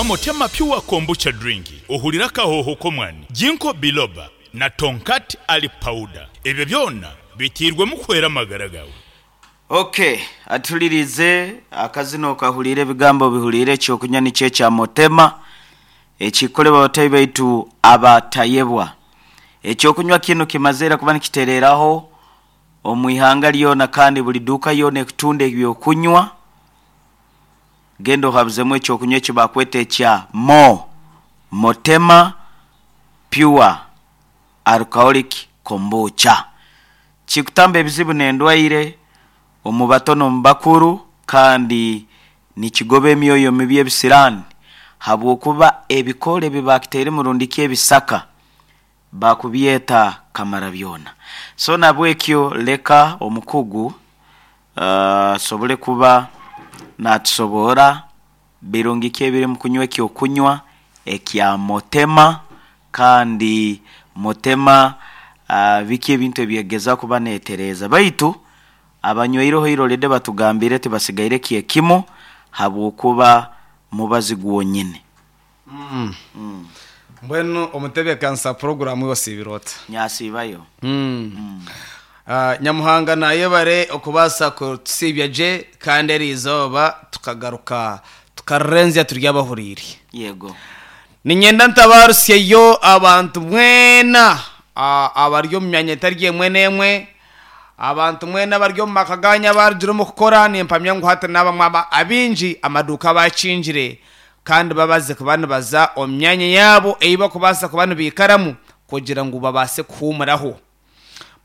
Motema Pure Kombucha Drink, ohurire akahooho k'omwani, Ginkgo Biloba na Tongkat Ali Powder. Ebyo byona biteirwemu kuhwera amagara gaawe. Ok, atuhuririize akazina okahuriire ebigambo obihuriire ekyokunywa nikyo ekya Motema ekikukorerwa bataahi baitu aba Tayebwa. Ekyokunywa kinu kimazire kuba nikitereeraho omu ihanga ryona kandi buri duuka yoona ekutunda ebyokunywa genda ohabuzemu ekyokunywa eki bakweta ekya Mo Motema Pure Alcoholic Kombucha. Kikutamba ebizibu n'endwaire omu bato n'omu bakuru kandi nikigoba emyoyo mibi ebisiraani habw'okuba ebikoora ebi baakitairemu rundi ki ebisaka baakubyeta kamarabyona. So nabwekyo leka omukugu asobole kuba naatusoboora birungi ki ebiri omu kunywa eky'okunywa ekya Motema kandi Motema biki ebintu ebi egeza kuba neetereeza. Baitu abanywaireho ira already batugambiire tibasigaire kyekimu habw'okuba mubazi gwonyini. Mbwenu omutebeekanisa puroguraamu iwe osiibire ota? Nyasiibayo. Nyamuhanga naayebare okubaasa kutusiibya gye kandi eri izooba tukagaruka tukarurenzya turi abahuriire. Yego. Niinyenda ntabaarusyeyo abantu mwena abari omu myanya etari emwe n'emwe, abantu mwena abari omu maka gaanyu abarugire omu kukora, nimpamya ngu hati n'abamwe abaingi amaduuka bakingire kandi babaze kuba nibaza omu myanya yaabo ei barikubaasa kuba nibaikaramu kugira ngu babaase kuhuumuraho.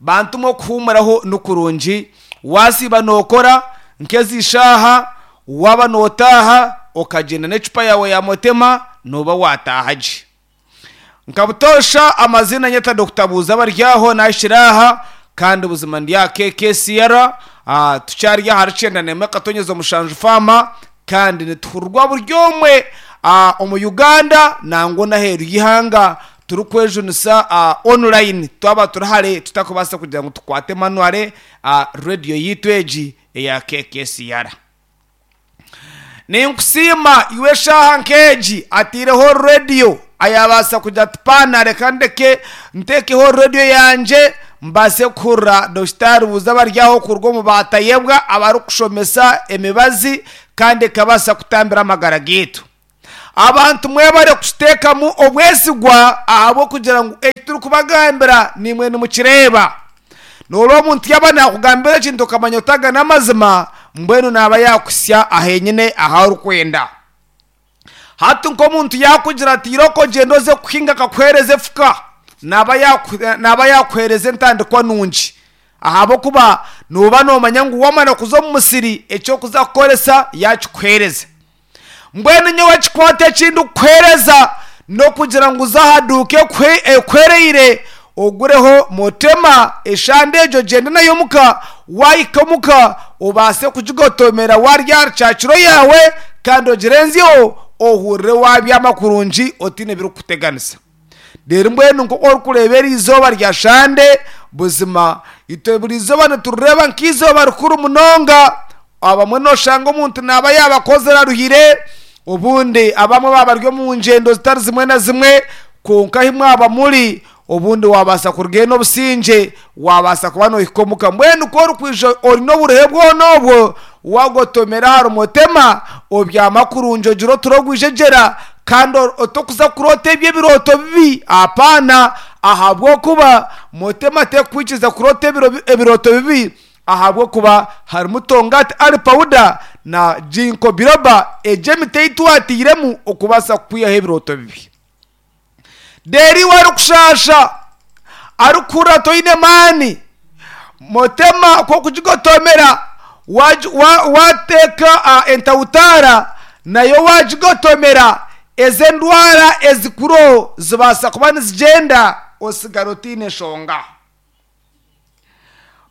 Bantu mwe okuhuumuraho ni kurungi, waasiiba nookora nk'ezi shaaha, waaba nootaaha okagyenda n'ecupa yaawe ya motema nooba waataaha gye. Nka butoosha amaziina nyeta Dokita Buuza Baryaho naahikire aha kandi buzima ndi aha KKCR, tukyari ahari kyenda n'emwe akatonyeza omushanju faama Kandi nituhurirwa buri omwe omu Uganda nangwa n'aheeru y'eihanga turikwejunisa online twaba turi hare tutakubaasa kugira ngu tukwate manually rediyo yaitu egi eya KKCR. Ninkusiima iwe eshaaha nk'egi ataireho rediyo ayabaasa kugira ati paana reka ndeke nteekeho rediyo yangye Mbaase kuhurira Dokita Rubuuza Baryaho kuruga omu baatayebwa abarikushomesa emibazi kandi ekabaasa kutambira amagara gaitu. Abantu mwebare kututeekamu obwesigwa ahabw'okugira ngu eki turikubagambira naimwe nimukireeba. Nooreeba omuntu yaaba naakugambira ekintu okamanya oti aga n'amazima, mbwenu naaba yaakuhitsya ahenyine ahu orikwenda. Hati nk'omuntu yaakugira ati irooko gyenda oze kuhinga akakuheereza efuka, naaba naaba yaakuheereza entandikwa nungi ahabw'okuba nooba noomanya ngu waamara kuza omu musiri eki orikuza kukoresa yaakikuheereza. Mbwenu nyowe ekikwate eki ndikukuheereza n'okugira ngu oze aha duuka ekuhwereire ogureho motema eshande egyo ogyende nayo omuka, waahika omuka obaase kugigotomera waarya aha rukyakiro yaawe kandi ogirenzyeho ohurire waabyama kurungi otaine birikukuteganisa. Reero mbwenu nk'oku orikureeba eri izooba rya shande, buzima itwe buri izooba niturireeba nk'eizooba rikuru munonga. Abamwe nooshanga omuntu naaba yaaba akozire aruhire, obundi abamwe baaba bari omu ngyendo zitari zimwe na zimwe, kwonka ahi mwaba muri, obundi waabaasa kurugayo n'obusingye, waabaasa kuba noohika omuka. Mbwenu ku orikwija ori n'oburuhe bwona obwo, waagotomera ahari motema, obyama kurungi ogira oturo ogwijegyera, kandi otokuza kuroota ebyo ebirooto bibi, apaana, ahabw'okuba motema tekukwikiriza kuroota ebirooto bibi, Ahabw'okuba harimu tongati ali pawuda na ginkgo biloba, egyo emiti ei twatairemu okubaasa kukwihaho ebirooto bibi. Reero iwe arikushaasha, arikuhurira toine maani, motema ku orikugigotomera waateeka entawutaara nayo waagigotomera, ezo endwara ezikuriho zibaasa kuba nizigyenda otsigara otaine nshonga.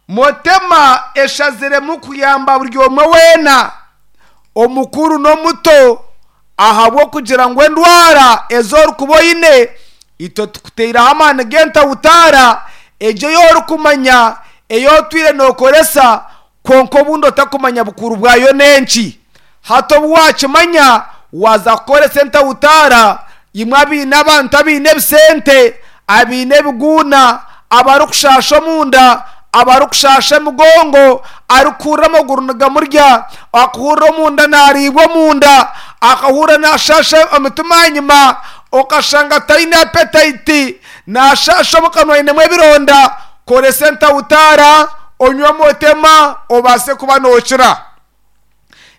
Motema eshaziremu kuyamba buri omwe weena, omukuru n'omuto ahabw'okugira ngu endwara ezi orikuba oine itwe tukuteireho amaani g'entawutaara egyo ei orikumanya ei otwire nookoresa kwonka obundi otakumanya bukuru bwayo n'enki. Hati obu waakimanya Waaza kukoresa entawutaara, imwe abaine abantu abaine ebisente, abaine ebiguuna, abarikushaasha omunda, abarikushaasha emigongo, arikuhurira amaguru nigamurya, akuhurira omunda naariibwa omunda, akahurira naashaasha omutima ahanyima, okashanga taine apetayiti, naashaasha omu kanwa ainemu ebironda, koresa entawutaara, onywe omutema obaase kuba nookira.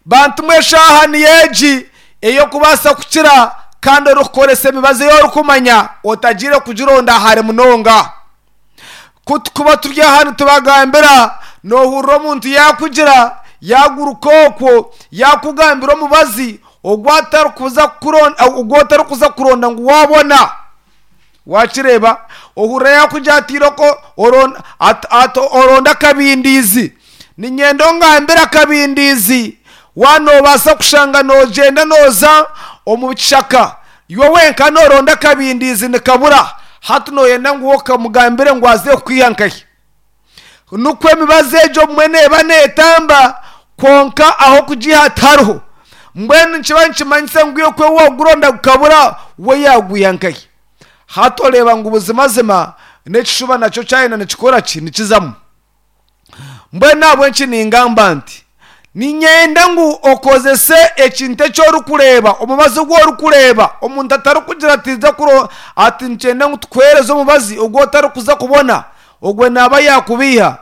Bantu mwe eshaaha niyo egi ey'okubaasa kukira kandi orikukoresa emibazi ei orikumanya otagiire kugironda hare munonga. Ku tukuba turi aha nitubagambira, noohurira omuntu yaakugira, yaaguruka okwo, yaakugambira omubazi ogu atarikuza kukuronda ogu otarikuza kuronda ngu waabona. Waakireeba? Ohurira yaakugira ati irooko oronde akabindiizi. Niinyenda ongambire akabindiizi. Waaba noobaasa kushanga noogyenda nooza omu kishaka, iwe wenka nooronda akabindiizi nikabura. Hati nooyenda ngu okamugambire ngu aze kukwiha nkahi? Nikwo emibazi egyo obumwe neeba neetamba, kwonka ah'okugiiha tihariho. Mbwenu nikiba nikimanyisa ngu iwe ku waaguronda gukabura, we yaagwiha nkahi? Hati oreeba ngu buzimazima n'ekishuba nakyo kyayenda nikikora ki? Nikizamu. Mbwenu ahabw'enki ningamba nti, Niinyenda ngu okozese ekintu eki orikureeba, omubazi ogu orikureeba. Omuntu atarikugira ati ija kuro ati nikyenda ngu tukuheereze omubazi ogu otarikuza kubona, ogwo naaba yaakubeiha.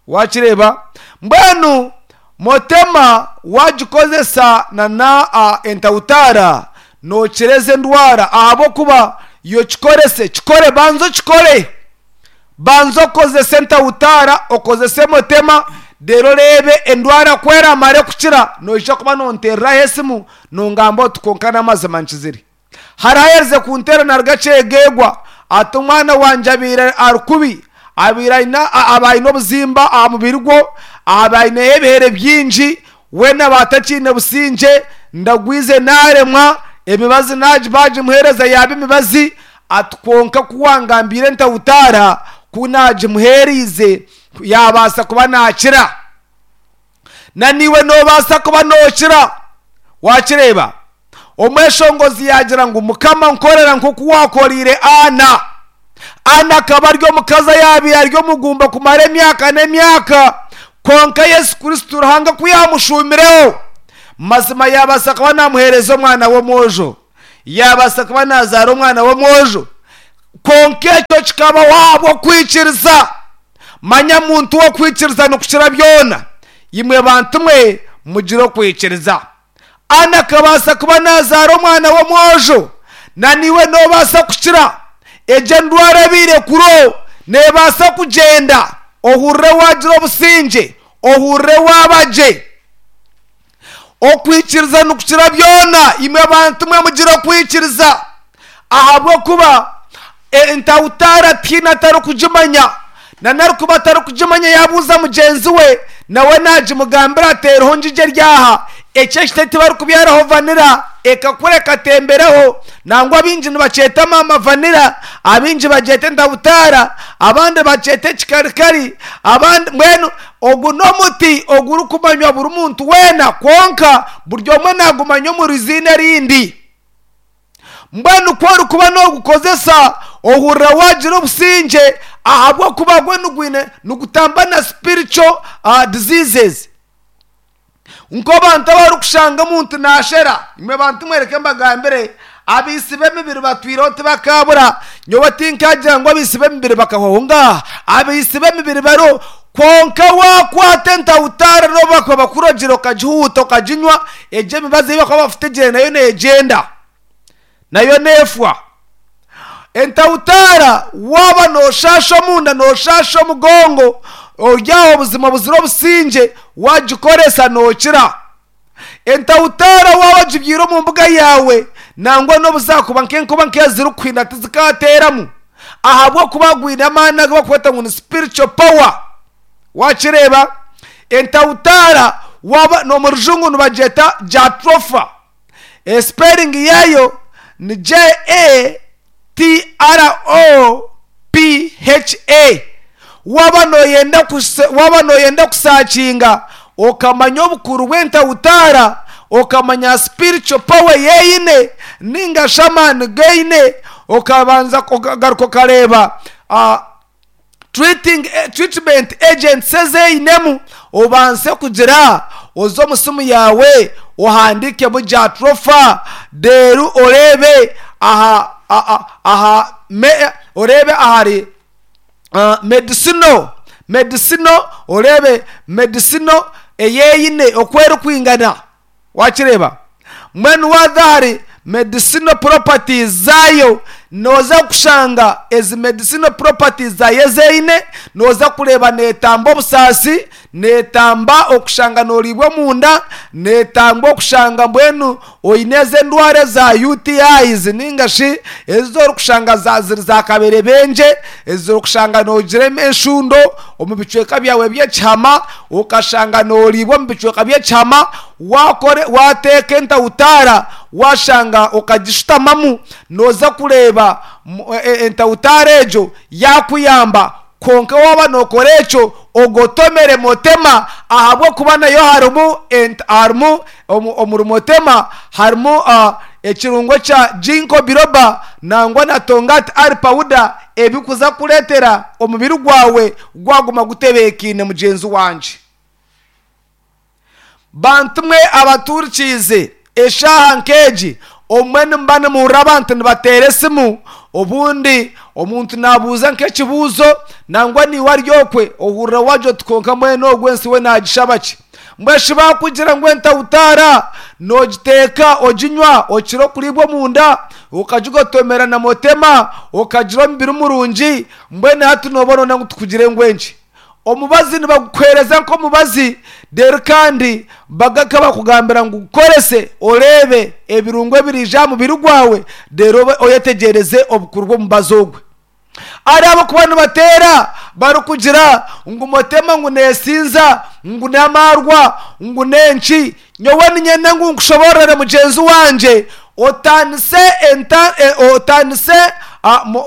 Waakireeba? Mbwenu Motema waagikozesa na na entawutaara, nookira ezi endwara ahabw'okuba yo kikorese, kikore, banza okikore. Banza okozese entawutaara, okozese emotema, reero oreebe endwara ku eramare kukira, noija kuba nonteereraho esimu nongamba oti kwonka n'amazima nkizire. Hariho ayerize kunteera naruga Kyegegwa ati omwana wangye abaire ari kubi, abaire aine aba aine obuzimba aha mubiri gwo, aba aineho ebihere bingi, weena aba atakiine busingye, ndagwize naaremwa, emibazi baagimuheereza yaaba emibazi, Ati, Kwonka ku wangambiire entawutaara, ku naagimuheereize, yaabaasa kuba naakira. Na naiwe noobaasa kuba nookira. Waakireeba? Omweshongozi yaagira ngu, Mukama, nkorera nk'oku waakoreire Ana. Ana akaba ari omukazi ayaabaire ari omugumba kumara emyaka n'emyaka, kwonka Yesu Kristo Ruhanga ku yaamushuumireho, mazima yaabaasa kuba naamuheereza omwana w'omwojo. Yaabaasa kuba naazaara omwana w'omwojo. Kwonka ekyo kikabaho ahabw'okwikiriza. Manya muntu w'okwikiriza nikukira byona. Imwe bantu mwe, mugire okwikiriza. Ana akabaasa kuba naazaara omwana w'omwojo. Na naiwe noobaasa kukira. Egyo endwara ebaire kuro neebaasa kugyenda, ohurire waagira obusingye, ohurire waaba gye. Okwikiriza nikukira byona. Imwe bantu mwe mugire okwikiriza, ahabw'okuba entawutaara tihaine atarikugimanya, na n'arikuba atarikugimanya yaabuuza mugyenzi we, nawe naagimugambira ati eriho ngigyo eri aha. Eki ekiti tibarikubyaraho vanira, ekakura ekatembereho. Nangwa abaingi nibakyeta maama vanira, abaingi bagyeta entawutaara, abandi bakyeta ekikarikari, abandi mbwenu Ogu n'omuti ogurikumanywa buri muntu weena, kwonka buri omwe naagumanya omu riziina erindi. Mbwenu ku orikuba noogukozesa, ohurira waagira obusingye ahabw'okuba gwo nigwine nigutamba na spiritual diseases. Nk'abantu abarikushanga omuntu naashera, imwe bantu mwereke mbagambire, abaitsi b'emibiri batwireho tibakaabura. Nyowe tinkagira ngu abaitsi b'emibiri bakahwaho, ngaaha, abaitsi b'emibiri bariho. Kwonka waakwata entawutaara n'obu bakuba bakurogire okagihuuta okaginywa, egyo emibazi ei bakuba bakutegire nayo neegyenda, nayo neefwa. Entawutaara waaba nooshaasha omunda, nooshaasha omugongo, ori aho obuzima buzira obusingye, waagikoresa nookira. Entawutaara waaba ogibyaire omu mbuga yaawe, nangwa n'obu zaakuba nk'enkuba nk'ezirikuhinda tizikaateeramu ahabw'okuba gwine amaani agu barikweta ngu ni spiritual power. Waakireeba? Entawutaara waaba n'omu rujungu nibagyeta jatropha. Esipeeringi yaayo ni J-A-T-R-O-P-H-A. Waaba nooyenda waaba nooyenda kusaakinga okamanya obukuru bw'entawutaara, Okamanya spiritual power ei eine ninga shi amaani gu eine, okabanza okagaruka okareeba treating treatment agents ezi einemu, obanse kugira oze omu simu yaawe ohandiikemu jatropha reero oreebe aha aha oreebe ahari medicinal medicinal oreebe medicinal ei eine oku erikwingana Wakireeba? Mbwenu waaza ahari medicinal properties zaayo, nooza kushanga ezi medicinal properties zaayo ezi eine, nooza kureeba neetamba obusaasi, neetamba okushanga nooriibwa omunda, neetamba okushanga mbwenu oine ezi endwara eza UTIs ninga shi ezi orikushanga za ziri za kaberebengye, ezi orikushanga noogira enshundo omu bicweka byawe by'ekihama, okashanga nooriibwa omu bicweka by'ekihama, Wakore wateeka entautaara washanga okagishutamamu noza kureeba entautaara egyo yakuyamba kwonka waba nokora ekyo ogotomere motema ahabwokuba nayo harimu harimu omuri motema harimu ekirungo kya ginkgo biloba nangwa na tongati ali powder ebikuza kuretera omubiri gwawe gwaguma gutebekaine mugyenzi wangye. Bantu mwe abatuhurikiize eshaaha nk'egi, obumwe nimuba nimuhurira abantu nibateera esimu, obundi omuntu naabuuza nk'ekibuuzo nangwa naiwe ari okwe ohurira wagira oti kwonka mbwenu ogu ensi we naagishaba ki? Mbwenu shi baakugira ngu entautaara noogiteeka oginywa okira okuriibwa omunda, okagigotomera na motema, okagira omubiri murungi, mbwenu hati nooba nooyenda ngu tukugire ngu enki? Omubazi nibagukuheereza nk'omubazi reero kandi bagaruka bakugambira ngu gukorese oreebe ebirungo ebiriija aha mubiri gwawe reero obe oyetegyereze obukuru bw'omubazi ogwe. Hariho abarikuba nibateera barikugira ngu motema ngu neesinza, ngu n'amaarwa, ngu n'enki. Nyowe niinyenda ngu nkushoboororere mugyenzi wangye otaanise enta otaanise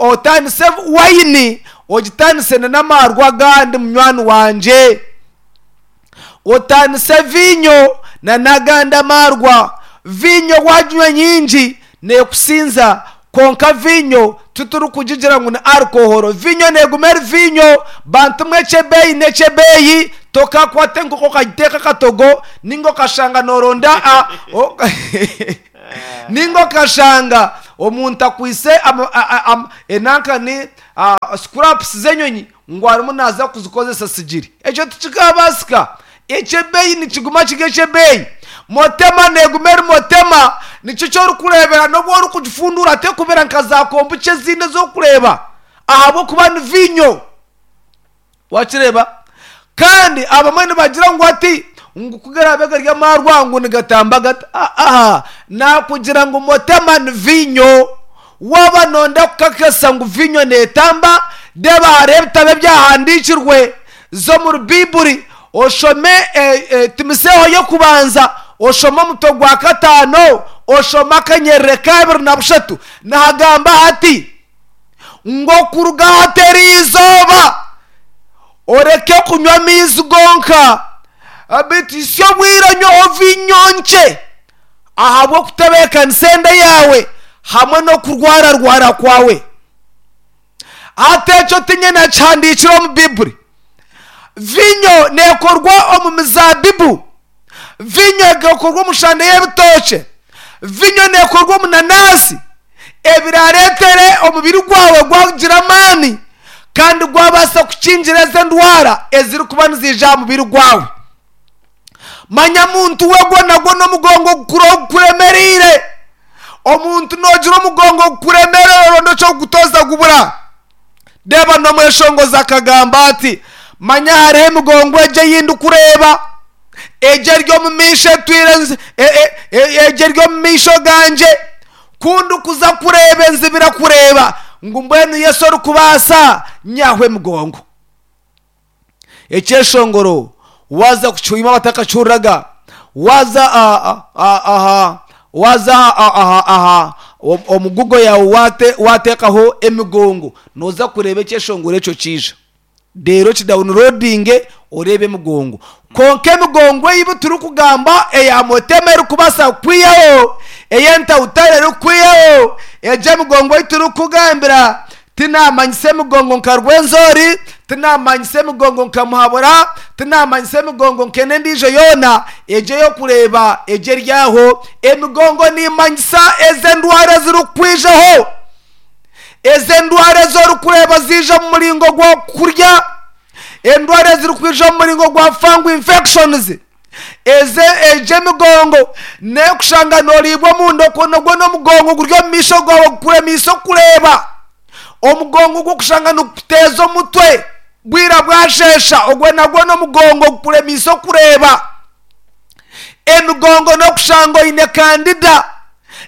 otaanise wayini Ogitaanise n'amaarwa agandi munywani wangye. Otaanise viinyo n'agandi amaarwa. Viinyo waaginywa nyingi neekusinza, kwonka viinyo titurikugigira ngu ni alcohol. Viinyo neeguma eri viinyo. Bantu mwe eky'ebeeyi n'eky'ebeeyi, tokakwata enkoko okagiteeka akatogo nainga okashanga nooronda nainga okashanga omuntu akwaitse enanka ni scraps z'enyonyi ngu arimu naaza kuzikozesa sigiri. Ekyo tikikabaasika. Eky'ebeeyi nikiguma kiri eky'ebeeyi. Motema neeguma eri motema, nikyo eki orikureebera n'obu orikugifunduura terikubera nka za kombucha ezindi ezi orikureeba ahabw'okuba ni viinyo. Wakireeba? Kandi abamwe nibagira ngu ati ngu ku garaabe gari amaarwa ngu nigatamba gata? Aa, naakugira ngu motema ni viinyo. Waaba nooyenda kukakasa ngu viinyo neetamba, reeba hariho ebitabo ebyahandiikirwe za omuri Baiburi oshome Timoseeho y'okubanza, oshome omutwe gwa kataano, oshome akanyerere k'abiri na bushatu, nihagamba hati, ngu okuruga hati eri izooba oreke kunywa amaizi gonka, beitu hitsya obwire onyweho viinyo nkye ahabw'okutebeekanisa enda yaawe hamwe n'okurwararwara kwawe. Hati ekyo tiinye naakihandiikire omu Baiburi. Viinyo neekorwa omu mizaabibu, viinyo ekorwa omu shande y'ebitookye, viinyo neekorwa omu nanaasi, ebiraareetere omubiri gwawe gwagira amaani kandi gwabaasa kukingira ezo endwara ezirikuba niziija aha mubiri gwawe. Manya muntu we gwo nagwo n'omugongo ogukuremereire. Omuntu noogira omugongo ogukuremereire oronda eky'okugutoza gubura. Reeba n'omweshongozi akagamba ati, Manya hariho emigongo egyo ei ndikureeba, egyo eri omu maisho etwire egyo eri omu maisho gangye. Ku ndikuza kureeba enzibira kureeba ngu mbwenu Yesu orikubaasa nyihaho emigongo. Ekyeshongoro waaza kukihwima abatakakihuriraga, waaza aha waaza aha aha omu google yaawe waateekaho emigongo, nooza kureeba ekyeshongoro ekyo kiija. Reero okidawuniroodinge oreebe emigongo. Kwonka emigongo ei turikugamba eya Motema erikubaasa kukwihaho, ey'Entawutare erikukwihaho, egyo emigongo ei turikukugambira tinaamanyisa emigongo nka Rwenzori, tinaamanyisa emigongo nka Muhabura, tinaamanyisa emigongo nka n'endiijo yoona, egyo ey'okureeba egyo eri aho. Emigongo niimanyisa ez'endwara ezirikukwijaho. Ezo endwara ezi orikureeba ziija omu muringo gw'okurya, endwara ezirikwija omu muringo gwa fungal infections, eze egyo emigongo n'ekushanga noriibwa omunda okwo nogwo n'omugongo guri omu maisho gaawe gukuremiise okureeba. Omugongo gw'okushanga nigukuteeza omutwe bwira bwasheesha ogwo nagwo n'omugongo gukuremiise okureeba. Emigongo n'okushanga oine kandida.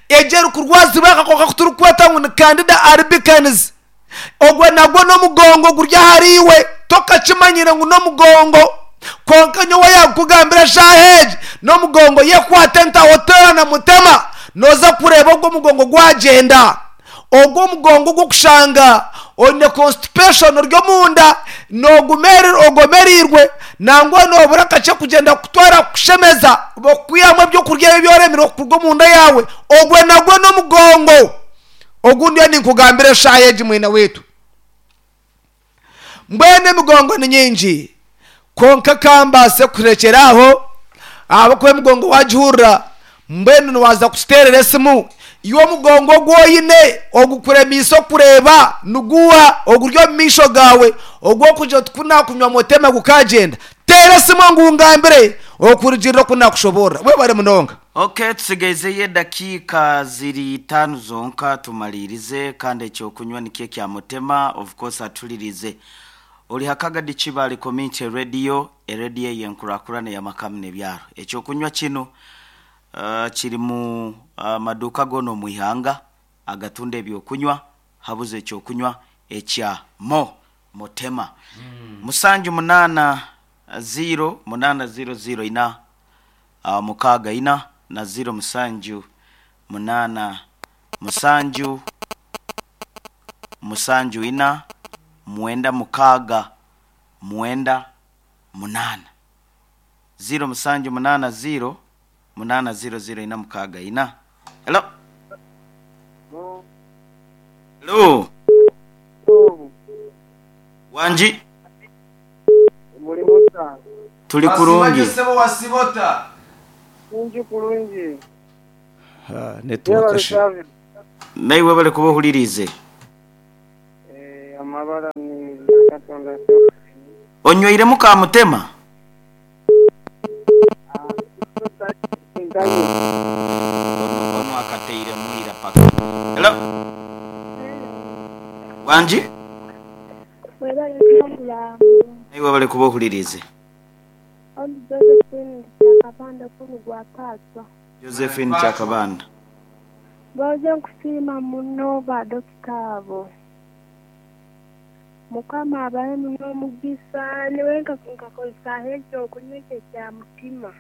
Egyo erikurwazibwa akakooko aku turikweta ngu ni Candida albicans. Ogwo nagwo n'omugongo guri ahariiwe, tokakimanyire ngu n'omugongo. Kwonka nyowe yaakukugambira eshaaha egi, n'omugongo yekwate entaho teera na mutema, nooza kureeba ogwo omugongo gwagyenda. Ogwo omugongo ogw'okushanga oine constipation ori omunda ogomereirwe nangwa nobura kakye kugyenda kukutwara kukushemeza bakukwihamu ebyokurya ebi oremire kuruga omunda yaawe ogwo nagwo n'omugongo ogu ndiyo ninkugambira eshaaha egi mwine waitu. Mbwenu emigongo ni nyingi, kwonka ka mbaase kurekyera aho, ahabw'okuba emigongo waagihurira, mbwenu niwaaza kututeerera esimu. Iwe omugongo ogu oine ogukuremiise okureeba niguuha oguri omu maisho gaawe, ogw'okugira oti ku naakunywa motema gukaagyenda? Teera esimu ngu ngambire okurugiirira oku naakushoboorora. Webare munonga. Ok tusigaizeyo edakiika ziri itaano zonka tumariirize kandi ekyokunywa nikyo ekya Mutema of course atulirize. Ori Hakagadi Kibaale Community Radio, erediyo eyenkurakurana eyamaka nebyaro. Ekyokunywa kinu kiri mu maduuka goona omu ihanga agatunda ebyokunywa habuze ekyokunywa ekya Mo Mutema. Musanju munaana ziiro munaana ziiro ziiro ina mukaaga ina na ziro musanju munaana musanju musanju ina mwenda mukaaga mwenda munaana. Ziro musanju munaana ziro munaana ziro ziro ina mukaaga ina. Hello. Hello. Wangi. Muli muta? Tuli kurungi. Sebo wasiba ota? Ndi kulungi. Network shi. Naiwe webale kuba ohuririize. Eh, amabara ni Katonda. Onyweiremu ka mutema? Ono ono akateiremu ira paka. Hello. Wangi? Webale pulogulaamu. Naiwe webale kuba ohuririize. Ondi Josephine Kyakabanda kunu gwa Paaswa. Josephine Kyakabanda. Mboze nkusiima muno ba dokita abo. Mukama abahe muno omugisa nyowe nkakozesa ekyokunywa ekyo ekya mutima.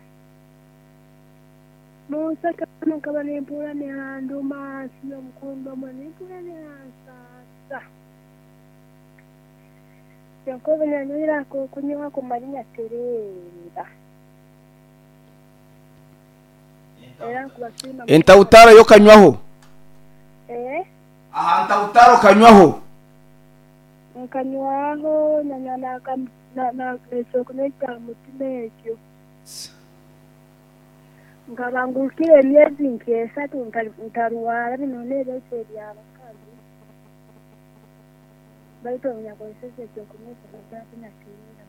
Munseke muno nkaba nimpurra nihanduma hansi y'omukundo omwe nimpurra nihansaasa. Kyonka obu nanywire ak'okunywa ako mali nyatereera. Era nkubasiima muno. Entautaaro yo okanywaho? Eeh. Aha ntautaaro okanywaho? Nkanywaho nanywa n'ekyokunywa ekya mutima ekyo. Nkaba ngurukire emyezi nk'esatu ntarwara binu n'ebireju eby'abakazi. Baitu obu nyakozeseze eky'okunywa eki nkaba tinatiinire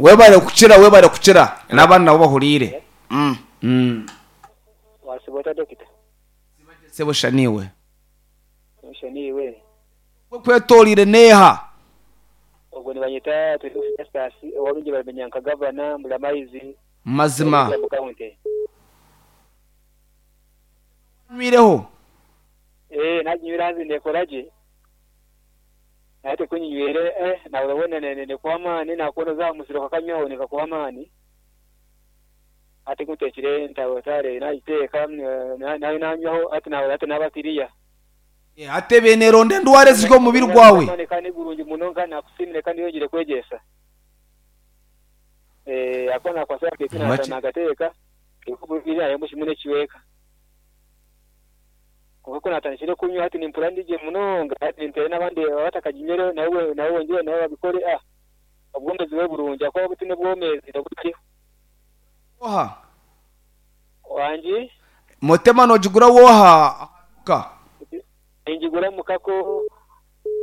Webale kukira webale kukira n'abandi nabo bahuriire. Wasiba ota dokita? Sebo sha niiwe. Sha niiwe. Ekwetoreire n'eha? Ogwo nibanyeta Twine Festus ow'abaingi baramanya nka Gavana Mburamaizi Mazima. Sub County. Wanywireho? Eeh naginywire haza nekora gye. Hati ku nginywire eh nahurira hoona nekuha amaani nakuba noza aha musiri okakanywaho nikakuha amaani. Hati ku nteekire entarotaare nagiteeka nayo nanywaho hati nahurira hati naba kiriya. Hati ebaire neeronda endwara eziri omu mubiri gwawe. Amaani kandi gurungi munonga nakusiimire kandi oyongyere kwegyesa. Eh, ahakuba nakwasa beitu Nywa ki? nagateeka harimu kimwe n'ekicweka. Kwonka ku natandikire kunywa hati nimpurira ndi gye munonga hati ninteera n'abandi abatakaginywireho nabo nabo bongyere nabo babikore ah obwomezi bube burungi ahakuba obu tine obwomezi obutariho. Woha? Wangi? Motema nogigura woha aha duuka? Ningigura mukako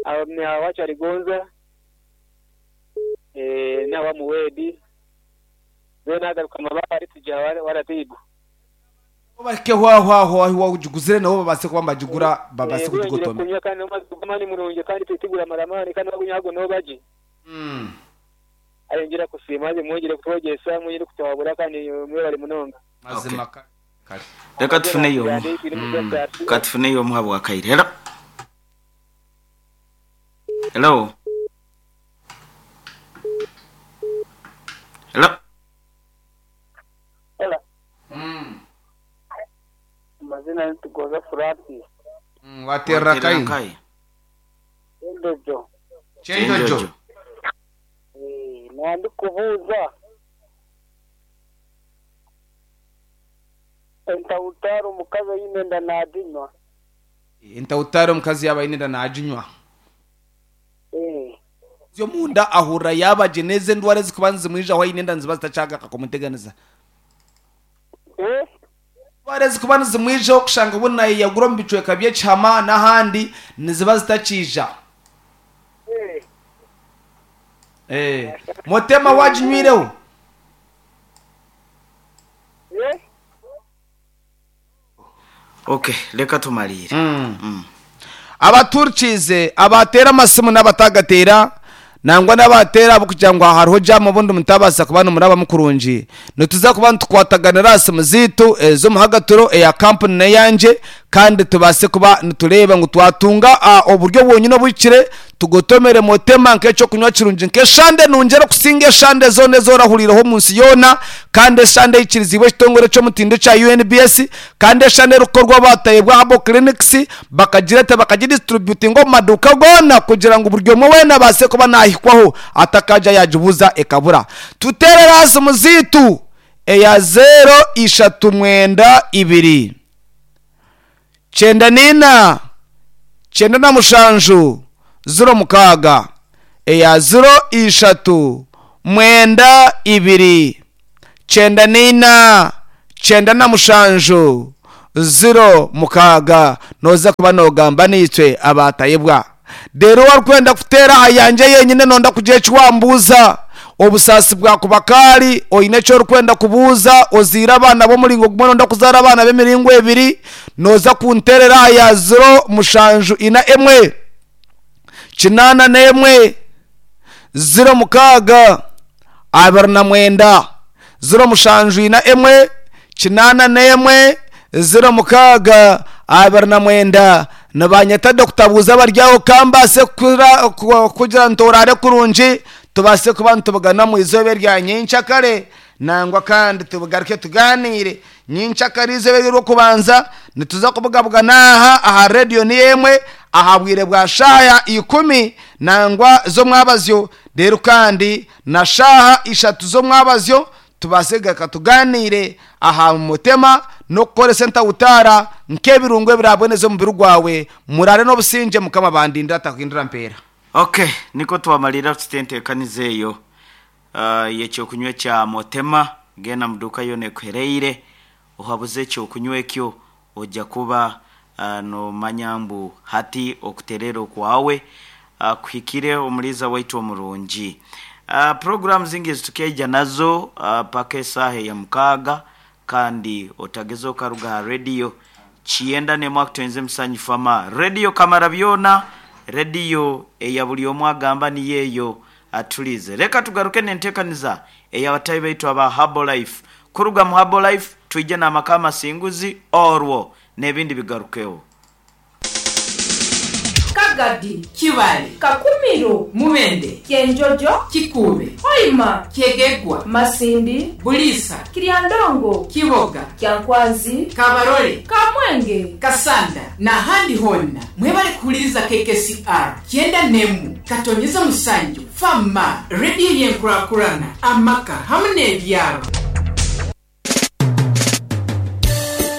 aha Kyarigonza n'aha Muwedi then nagaruka Mabare tugiha Waratibu. Nabo bahikeho aho aho ahu wagiguzire nabo babaase kuba nibagigura babaase Yongire kugigotomera. kunywa kandi n'omazi g'amaani murungi kandi tiguramara amaani kandi wagunywa ago nooba gye. Ayongyera kusiima haza mwongyere kutwegyesa, mwongyere kutuhabura kandi mwebare munonga. Mazima kare kare. Reka tufuneyo omu. Reka tufuneyo omu habwakaire. Hello. Hello. Hello. Hello. Amazina ni Tugoza Francis. Waterera Waterera kai? nkahi? Endojo. Kyenjojo. Eh, nandikubuuza entawutaari omukazi oine enda naaginywa? Entawutaari omukazi yaaba aine enda naaginywa. Eh. Omunda ahurira yaaba gye n'ezi endwara ezikuba nizimwijaho aine enda niziba zitakyagaruka kumuteganisa. Eh? Endwara ezikuba nizimwijaho kushanga obu naayeyagura omu bicweka by'ekihama n'ahandi niziba zitakiija. Eh. Eh. Motema waaginywireho? Eh? Okay, reka tumariire. Abaturkiize abateera amasimu n'abatagateera nangwa n'abateera ahabw'okugira ngu hariho jaamu obundi mutabaasa kuba nimurabamu kurungi. Nituza kuba nitukwataganira aha simu zaitu ez'omuhagaturo eya kampuni n'eyangye kandi tubaase kuba nitureeba ngu twatunga oburyo bwonyine obuhikire tugotomere Motema nk'eky'okunywa kirungi nk'eshande nungi erikusinga eshande zoona ezi orahuriireho omu nsi yoona kandi eshande eikiriziibwe ekitongore ky'omutindo ekya UNBS kandi eshande erikukorwa abaatahibwa Herbal Clinics bakagireeta bakagidistributinga omu maduuka goona kugira ngu buri omwe weena abaase kuba naahikwaho atakaagya yaagibuuza ekabura. Tuteerere aha simu zaitu eya zeero ishatu mwenda ibiri 94 97 06 eya 0 3 9 2 94 97 06 noza kuba nogamba naitwe abatayebwa. Reero warikwenda kuteera aha yangye yenyine nonda kugira eki wambuuza. Obusaasi bwakuba kaari, oine eki orikwenda kubuuza, ozaire abaana b'omuringo gumwe nonda kuzaara abaana b'emiringo ebiri, nooza kunteerera aha ya ziro mushanju ina emwe, kinaana n'emwe, ziro mukaaga, 29. 0741 81 06 29 Nibanyeta Dokita Buuza abari aho ka mbaase kugira nti oraare kurungi tubaase kuba nitubugana omu izooba erya nyenkyakare nangwa kandi tugaruke tugaaniire nyenkyakare eizooba ery'orwokubanza nituza kubugabugana aha aha rediyo niyo emwe aha bwire bwa shaaha ikumi nangwa z'omwabazyo reero kandi na shaaha ishatu z'omwabazyo tubaase kugaruka tugaaniire aha mutema n'okukoresa entawutaara nk'ebirungo ebiraaboneze omubiri gwawe. Muraare n'obusingye Mukama abandindire atahindura mpeera. Ok, nikwo twamalirira tuti enteekaniza eyo y'ekyokunywa ekya Motema. Genda mu duuka yoona ekuhereire ohabuze ekyokunywa ekyo oja kuba nomanya mbu hati okutereera okwawe kuhikire Omuriisa waitu omurungi. Puroguraamu zingi ezi tukeija nazo paka esaaha eya mukaaga kandi otageza okaruga aha rediyo Kiyenda n'emwe akutwenze musanyufu ama rediyo kamara byona, rediyo eya buri omwe agamba niyo eyo atuliize. Reka tugaruke n'enteekaniza ey'abataahi baitu aba Herbalife. Kuruga mu Herbalife twije n'amaka amasinguzi orwo n'ebindi bigarukeho. Kagadi, Kibaale, Kakumiro, Mubende, Kyenjojo, Kikuube, Hoima, Kyegegwa, Masindi, Buliisa, Kiryandongo, Kiboga, Kyankwanzi, Kabarole, Kamwenge, Kasanda n'ahandi hoona. Mwebale kuhuliriza KKCR 91 katonyeza musanju fama rediyo y'enkurakurana amaka hamu n'ebyaro.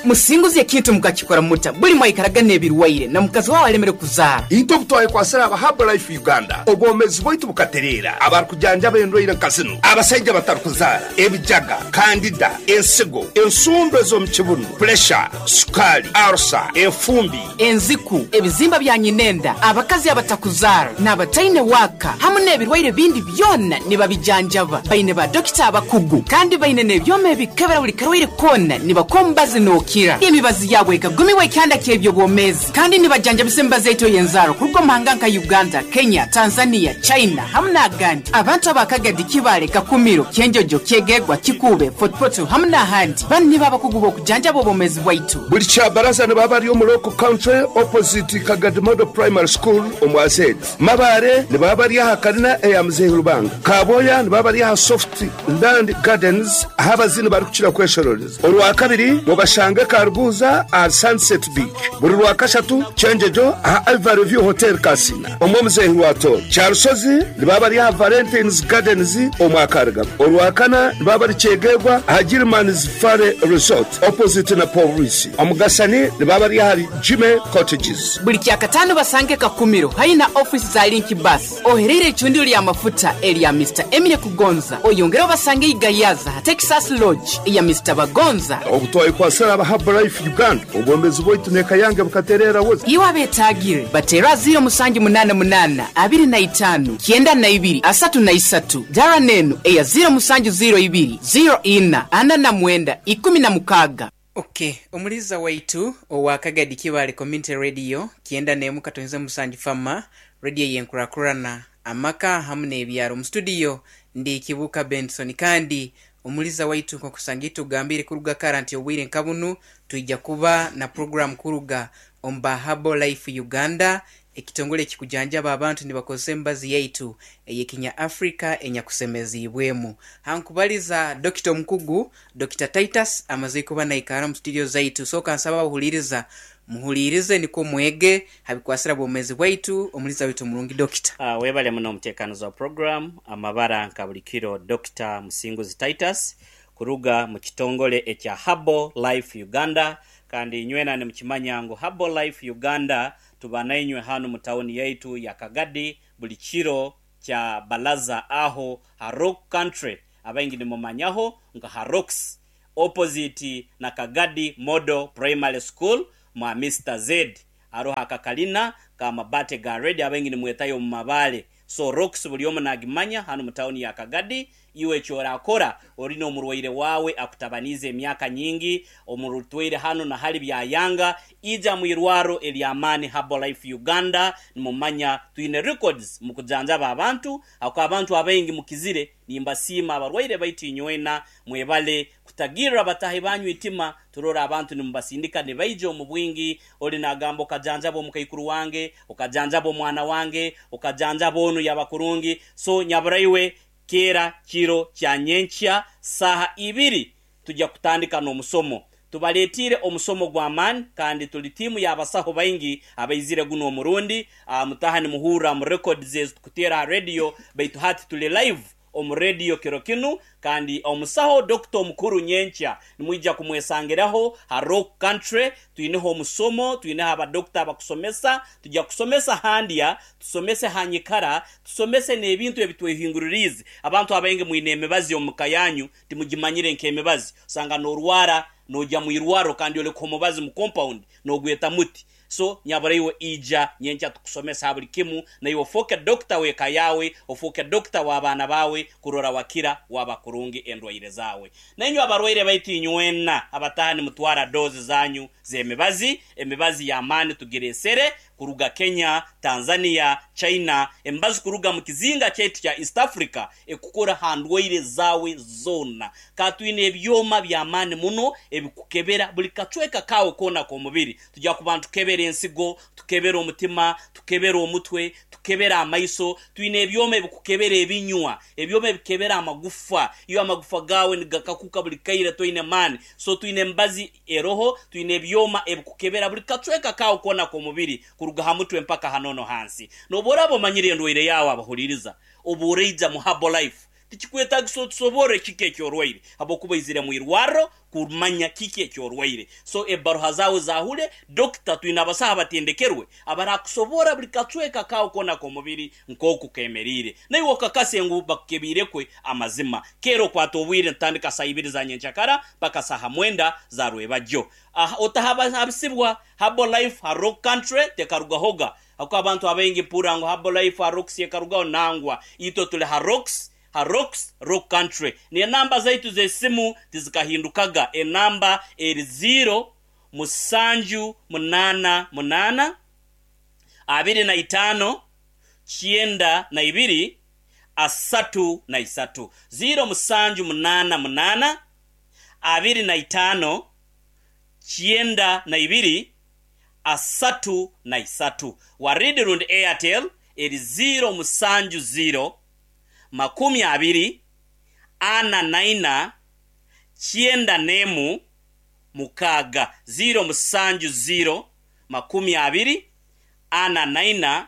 Musinguzi ekintu mukakikora muta buli mwaikaraga n'ebirwaire na mukazi wawe alemere kuzaara. Itwe obu twayekwasire aba Herbalife Uganda, obwomezi bwaitu bukatereera. Abarikujanjaba endwaire nka zinu, abasaija batarikuzaara, ebijaga, kandida, ensigo, ensundo ez'omu kibunu, puresha, sukaali, arusa, enfumbi, enziku, ebizimba bya nyinenda, abakazi abatakuzaara n'abataine waaka hamu n'ebirwaire bindi byona nibabijanjaba. Baine ba dokita abakugu kandi baine n'ebyoma ebikebera buli karwaire koona nibakuha omubazi n'okira. Emibazi yaabwe ekagumiwa ekyanda ky'ebyobwomeezi kandi nibajanjabisa emibazi yaitu ey'enzaaro kuruga omu mahanga nka Uganda, Kenya, Tanzania, China hamu n'agandi. Abantu aba Kagadi, Kibaale, Kakumiro, Kyenjojo, Kyegegwa, Kikuube, Fort Portal hamu n'ahandi. Banu nibo abakugu b'okujanjaba obwomeezi bwaitu. Buli kyabaraza nibaba bari omu Local Country opposite Kagadi Model Primary School omu Azedi. Mabaare nibaba bari aha karina eya Muzeeyi Rubanga. Kaboya nibaba bari aha Soft Land Gardens ahu abazini barikukira kweshororeza. Orwakabiri mubashange Karuguza aha Sunset Beach. Buri Rwakashatu Kyenjojo aha Ivory View Hotel Kasina omu Omuzeeyi Rwatooro. Kyarusozi nibaba bari aha Valentines Gardens omu Akarigabo. Orwakana nibaba bari Kyegegwa aha Gilman's Valley Resort opposite na Pooriisi. Omugasani nibaba bari ahari Jimmy Cottages. Buri Kyakataano basange Kakumiro haihi na ofiisi za Link Bus ohereire eicundiro ry'amafuta erya Mister Emile Kugonza. Oyongere obasange Igayaza aha Texas Lodge eya Mister Bagonza. Obu twayekwasire aba Herbalife Uganda, obwomeezi bwaitu n'eka yange bukatereera buza. Iwe abeetaagire, bateere aha 0788 25 92 33, Dara n'enu eya 0702 04 49 16. Ok, omuliiza waitu owa Kagadi Kibaale Community Radio 91 katonze musanju Fama, radio ey'enkurakurana, amaka hamu n'ebyaro. Mu studio ndi Kibuuka Benson kandi omuliiza waitu nk'okusanga itugambiire kuruga kara nti obwire nka bunu twija kuba na program kuruga omu ba Herbal Life Uganda, ekitongole ekikujanjaba abantu nibakozesa emibazi yaitu ey'ekinya Africa enyakusemeziibwemu. Hankubaliza Dokita omukugu Dokita Titus amaze kuba naikara omu studio zaitu. So kansaba abahuliiriza muhuliirize nikwo mwege habikwasira bwomezi bwaitu. Omuliiza waitu omurungi Dokita. Webale muno omutekanizi wa program amabara nka buli kiro Dokita Musinguzi Titus kuruga mu kitongole ekya Herbal Life Uganda kandi inywena nimukimanya ngu Herbal Life Uganda tuba nainywe hanu mu tawuni yaitu ya Kagadi buli kiro kya balaza aho ha Rock Country abaingi nimumanyaho nka ha Rocks opposite na Kagadi Model Primary School mwa Mister Z aroho akakalina ka mabate ga red abaingi nimwetayo omu mabale so Rocks buli omu nagimanya hanu mu tawuni ya Kagadi. Iwe eki orakora ori n'omurwaire waawe akutabaniize emyaka nyingi omurutwaire hanu na hali byayanga, ija mu irwaro ery'amaani Herbal Life Uganda. Nimumanya twine records mu kujanjaba abantu, ahakuba abantu abaingi mukizire. Nimbasiima abarwaire baitu inywena mwebale kutagirra batahi banyu itima. Turora abantu nimubasindika nibaija omu bwingi. Ori nagamba okajanjaba omukaikuru wange, okajanjaba omwana wange, okajanjaba onu yaba kurungi. So nyaburaiwe keera kiro kya nyenkya saaha ibiri tujya kutandika n'omusomo. Tubaletiire omusomo gw'amaani kandi tuli tiimu y'abasaho baingi abaizire guno omurundi. Mutaha nimuhurra mu records ezi tukuteera aha radio, baitu hati tuli live omu radio kiro kinu kandi omusaho Dokita omukuru nyenkya nimwija kumwesangiraho ha Rock Country. Twineho omusomo, twineho abadokita abakusomesa. Tujya kusomesa handya, tusomese ha nyikara, tusomese n'ebintu ebitwehinguririize. Abantu abaingi mwine emibazi omu ka yanyu timugimanyire nk'emibazi. Osanga n'orwara noija mu irwaro kandi oleka omubazi mu compound n'ogweta muti. So nyaburaiwe ija nyenkya tukusomesa ha buli kimu, naiwe ofooke dokita w'eka yaawe, ofooke dokita w'abaana baawe kurora wakira waba kurungi endwaire zaawe. Nainywe abarwaire baitu inywena abataha nimutwara doozi zanyu z'emibazi, emibazi y'amaani tugireesere kuruga Kenya, Tanzania, China, emibazi kuruga mu kizinga kyaitu kya East Africa ekukora ha ndwaire zaawe zoona. Ka twine ebyoma by'amaani muno ebikukebera buli kacweka kaawe koona k'omubiri. Tujja kuba nitukebera ensigo, tukebera omutima, tukebera omutwe, tukebera amaiso, twine ebyoma ebikukebera ebinywa, ebyoma ebikebera amagufa. Iwe amagufa gaawe nigakakuka buli kaire toine maani. So twine emibazi eroho, twine ebyoma ebikukebera buli kacweka kaawe koona k'omubiri kuruga ha mutwe mpaka ha nono hansi. N'obu oraaba omanyire endwaire yaawe abahuriiriza, obu oraija mu Herbalife, tikikwetagisa otusoborre kiki eki orwaire habwokuba oizire mu irwarro kumanya kiki eki orwaire. So ebaruha zaawe zaahule, dokita, twine abasaho abatendekerwe abarakusoborra buli kacweka kaawe koona k'omubiri nk'oku keemeriire. Naiwe okakase ngu bakukebiirekwe amazima. Keera okwata obwire nitutandika saaha ibiri za nyenkyakara mpaka saaha mwenda za rwebagyo. Aha otahabisibwa, Herbalife ha Rock Country tekarugahoga. Ahakuba abantu abaingi mpurra ngu Herbalife ha Rocks ekarugaho, nangwa. Itwe tuli ha Rocks, ha Rocks, Rock Country. N'enamba zaitu z'esimu tizikahindukaga. Enamba eri ziiro, musanju, munaana, munaana, 25, 92, 33. Ziiro, musanju, munaana, munaana, 25, 92, 33. Waridi rundi Airtel eri ziiro, musanju, ziiro, 20, 44, 91, 6. Ziiro, musanju, ziiro, 20, 44,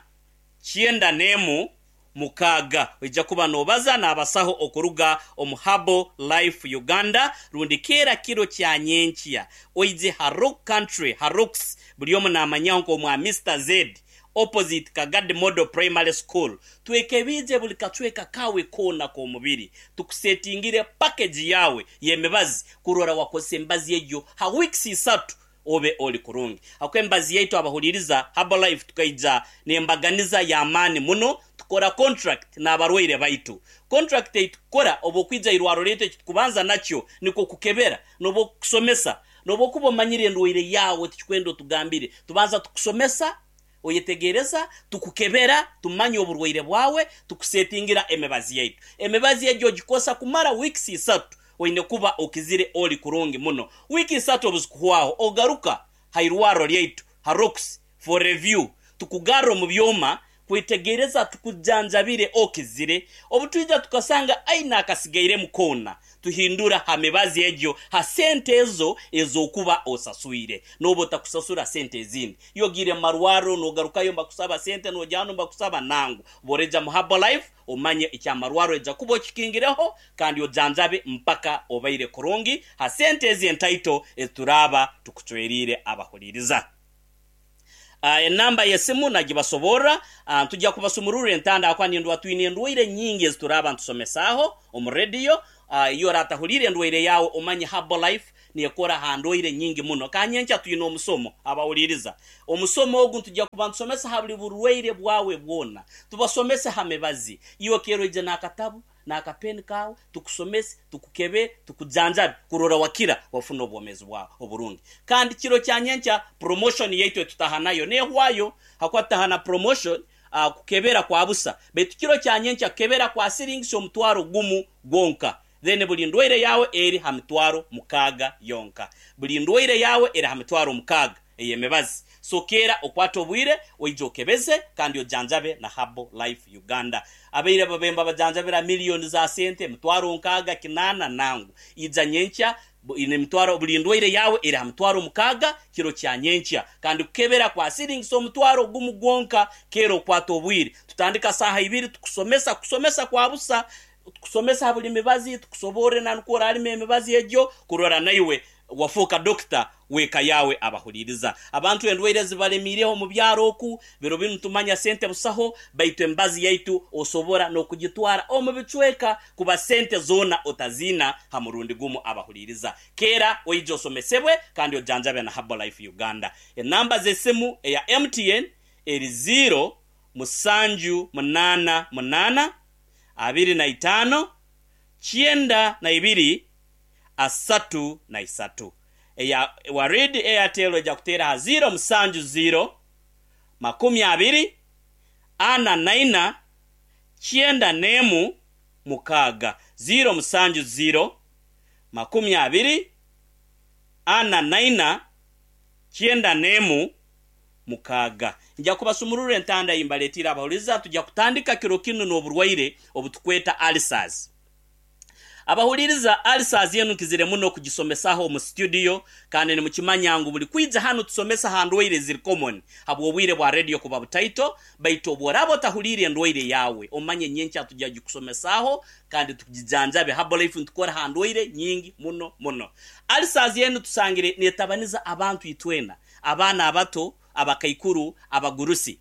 91, 6. Oija kuba noobaza n'abasaho okuruga omu Herbal Life Uganda rundi keera kiro kya nyenkya oije ha Rock Country ha Rocks buri omu naamanyaho nk'omwa Mister Z opposite Kagadi Model Primary School. Twekebiije buri kacweka kaawe koona k'omubiri tukusetingire package yaawe y'emibazi kurora wakozesa emibazi egyo ha weeks isatu obe ori kurungi. Ahabw'okuba emibazi yaitu abahuriiriza Herbalife tukaija n'embaganiza y'amaani muno, tukora contract n'abarwaire baitu. Contract ei tukukora obu okwija irwaro ryaitu eki tukubanza nakyo nikwo kukebera n'obu okukusomesa. N'obu okuba omanyire endwaire yaawe tikikwenda otugambire, tubanza tukusomesa, oyetegereza, tukukebera, tumanya oburwaire bwawe, tukusetingira emibazi yaitu. Emibazi egyo ogikosa kumara weeks isatu, oine kuba okizire ori kurungi muno. Wiiki isatu obu zikuhwaho, ogaruka ha irwarro ryaitu ha Rocks for review, tukugarra omu byoma kwetegereza tukujanjabire okizire. Obu twija tukasanga aine akasigairemu koona, Tuhindura ha mibazi egyo ha sente ezo ez'okuba osaswire. N'oba otakusasura sente ezindi. Iwe ogiire mu marwarro n'ogarukayo nibakusaba sente, n'ogya hanu nibakusaba. Nangwa. Obu oraija mu Herbalife, omanye eky'amarwarro oija kuba okikingireho kandi ojanjabe mpaka obaire kurungi ha sente ezi entaito ezi turaaba tukucweriire abahuriiriza. Enamba y'esimu nagibasoborra. Ntujja kubasumururra entanda ahakuba nindwa twine endwaire nyingi ezi turaaba ntusomesaaho omu rediyo. Iwe oratahuliire endwaire yaawe omanye Herbalife nekora ha ndwaire nyingi muno. Ka nyenkya twine omusomo abahuliiriza. Omusomo ogu ntujja kuba ntusomesa ha buli burwaire bwawe bwona. Tubasomese ha mibazi. Iwe keera oije n'akatabu n'akapeni kaawe, tukusomese, tukukebere, tukujanjabe kurora wakira wafuna obwomeezi bwawe oburungi. Kandi kiro kya nyenkya promotion yaitu etutaha nayo nehwayo hakuba tutaha na promotion kukebera kwa busa baitu kiro kya nyenkya kukebera kwa siringisi 10,000 gwonka then buli ndwaire yawe eri ha 60,000 yonka. Buli ndwaire yawe eri ha 60,000 ey'emibazi. So keera okwate obwire oije okebeze kandi ojanjabe na Herbal Life Uganda. Abaire babaire nibabajanjabira million za sente, 60,000, 800 nangwa. Ija nyenkya nemitwaro buli ndwaire yaawe eri ha 60,000 kiro kya nyenkya. Kandi kukebera kwa siringisa 10,000 gwonka. Keera okwate obwire. Tutandika saaha ibiri tukusomesa, kusomesa kwa busa. Tukusomesa ha buli mibazi, tukusoborre na nukwo orarima emibazi egyo kurora naiwe Wafooka dokita w'eka yaawe abahuriiriza. Abantu endwaire zibalemiireho omu byaro oku, biro binu tumanya sente busaho, baitu emibazi yaitu osobora n'okugitwara omu bicweka kuba sente zoona otaziina ha murundi gumu abahuriiriza. Keera oije osomesebwe kandi ojanjabe na Herbalife Uganda. Enamba z'esimu eya MTN eri ziiro, musanju, munaana, munaana, 25, 92, 33. Eya Warid Airtel oija kuteera ha ziiro musanju ziiro, 20, 44, 91, 6. 0 7 0, 20, 44, 91, 6. Nja kubasumurura entanda ei mbaletiire abahuriza tujya kutandika kiro kinu n'oburwaire obutukweta ulcers. Abahuririza ulcers enu nkizire muno kugisomesaho omu studio kandi nimukimanya ngu buri kwija hanu tusomesa aha ndwaire eziri common habw'obwire bwa radio kuba butaito baitu obworaba otahuriire endwaire yawe omanye nyenkya tujya gikusomesaho kandi tugijanjabe. Herbalife nitukora aha ndwaire nyingi muno muno. Ulcers enu tusangire netabaniza abantu itwena, abaana abato, abakaikuru, abagurusi.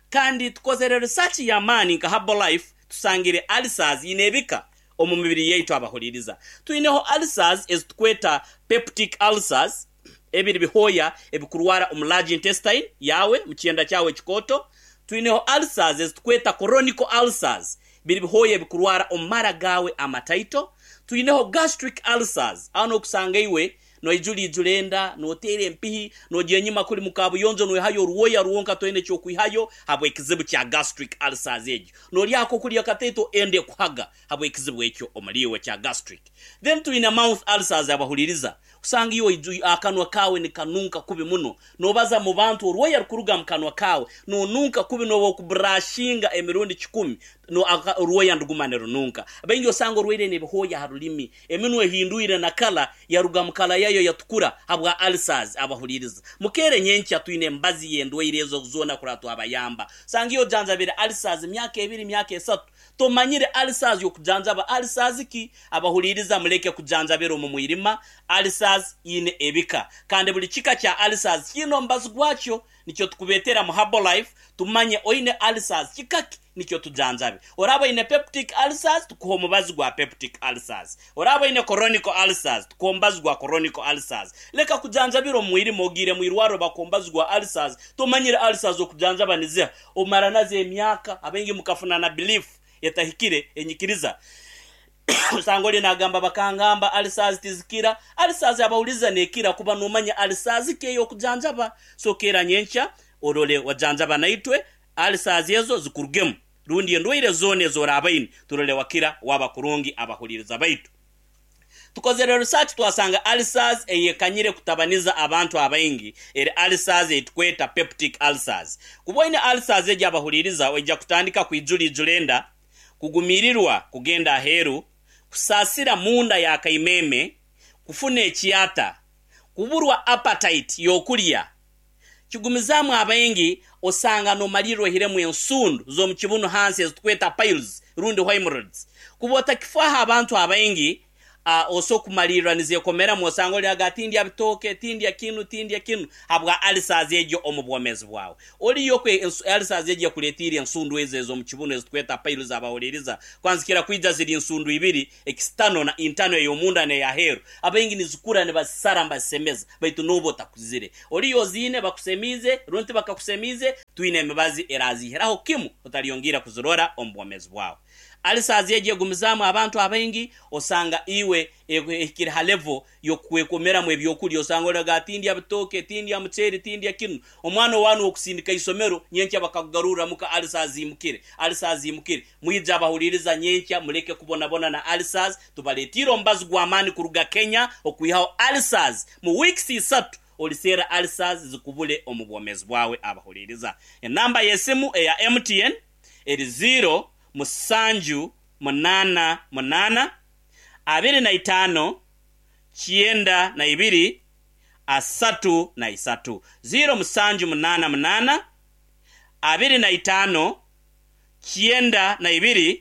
Kandi tukozere research y'amaani nka Herbalife tusangire ulcers ine ebika omu mibiri yaitu abahuririza. Twineho ulcers ezitukweta peptic ulcers, ebiri bihoya ebikurwara omu large intestine yawe, mu kyenda kyawe ekikooto. Twineho ulcers ezitukweta chronic ulcers, biri bihoya ebikurwara omu mara gawe amataito. Twineho gastric ulcers, aho nokusanga iwe noijura ijura enda, noteera empihi, nogya enyima kuri mu kabuyonjo noihayo oruwoya rwonka toine ekyokwihayo habw'ekizibu kya gastric ulcers egyo. Noryako okurya kataito enda ekuhaga habw'ekizibu ekyo omuri iwe kya gastric. Then twine mouth ulcers abahuririza. Osanga iwe akanwa kawe nikanunka kubi muno. Nobaza mu bantu orwoya rukuruga mu kanwa kawe, nonunka kubi noba okubrashinga emirundi 10, no orwoya nduguma nirununka. Baingi osanga orwaire n'ebihoya ha rulimi, eminwa ehindwire na kala yaruga mu kala yayo yatukura habwa ulcers abahuririza. Mukere nyenkya twine embazi y'endwaire ezo zoona kuraba twabayamba. Osanga iyo ojanjabire ulcers emyaka 2, emyaka 3, tomanyire ulcers y'okujanjaba ulcers ki? Abahuririza muleke kujanjabira omu mwirima. Ulcers ine ebika kandi buri kika kya ulcers kiine omubazi gwakyo. Nikyo tukubetera mu Herbalife tumanye oine ulcers kikaki nikyo tujanjabe. Oraba oine peptic ulcers tukuha omubazi gwa peptic ulcers. Oraba oine chronic ulcers tukuha omubazi gwa chronic ulcers. Leka kujanjabira omu mwirima ogiire mu irwariro bakuha omubazi gwa ulcers tomanyire ulcers okujanjaba niziha. Omara nazo emyaka abaingi mukafuna na belief etahikire enyikiriza. Osanga ori nagamba bakangamba ulcers tizikira. Ulcers abahuriza nekira kuba nomanya ulcers ki ey'okujanjaba. So keera nyenkya orore wajanjaba naitwe ulcers ezo zikurugemu rundi endwaire zoona ezorabaine turore wakira waba kurungi abahuririza baitu. Tukozere research twasanga ulcers eyekanyire kutabaniza abantu abaingi eri ulcers eitukweta peptic ulcers. Kuba oine ulcers egi abahuririza oija kutandika kwijura ijura enda, kugumirirwa kugenda aheeru, kusaasira munda ya kaimeme, kufuna ekyata, kuburwa appetite y'okurya. Kigumizaamu abaingi osanga nomalirra ohiremu ensundu z'omu kibunu hansi ezitukweta piles rundi hemorrhoids. Kuba otakifaho abantu abaingi oso kumalirra nizekomeramu osanga oli tindya bitooke, tindya kinu, tindya kinu habwa ulcers egyo omu bwomezi bwawe. Oliyo kwe ulcers egyo ekuletiire ensundu ezo ez'omu kibunu ezitukweta piles abahuririza. Kwanzikira kwija ziri ensundu ibiri, external na internal ey'omunda n'eyaheeru. Abaingi nizikura nibazisara nibazisemeza baitu noba otakuzire. Oliyo oziine bakusemiize rundi bakakusemiize, twine emibazi erazihiraho kimu otaliyongira kuzirora omu bwomezi bwawe. Ulcers egyo egumizaamu abantu abaingi osanga iwe ehikire ha level y'okwekomeramu ebyokurya osanga oraga tindya bitooke, tindya muceeri, tindya kinu. Omwana owanu okusindika isomero nyenkya bakakugarurra muka ulcers imukire, ulcers imukire. Mwija abahuririza nyenkya muleke kubonabona na ulcers, tubaletiire omubazi gw'amaani kuruga Kenya okwihaho ulcers mu weeks 3 oliseera ulcers zikubule omu bwomezi bwawe abahuririza. Enamba y'esimu eya MTN eri 0 7 8 8 25 92 33. 0 7 8 8 25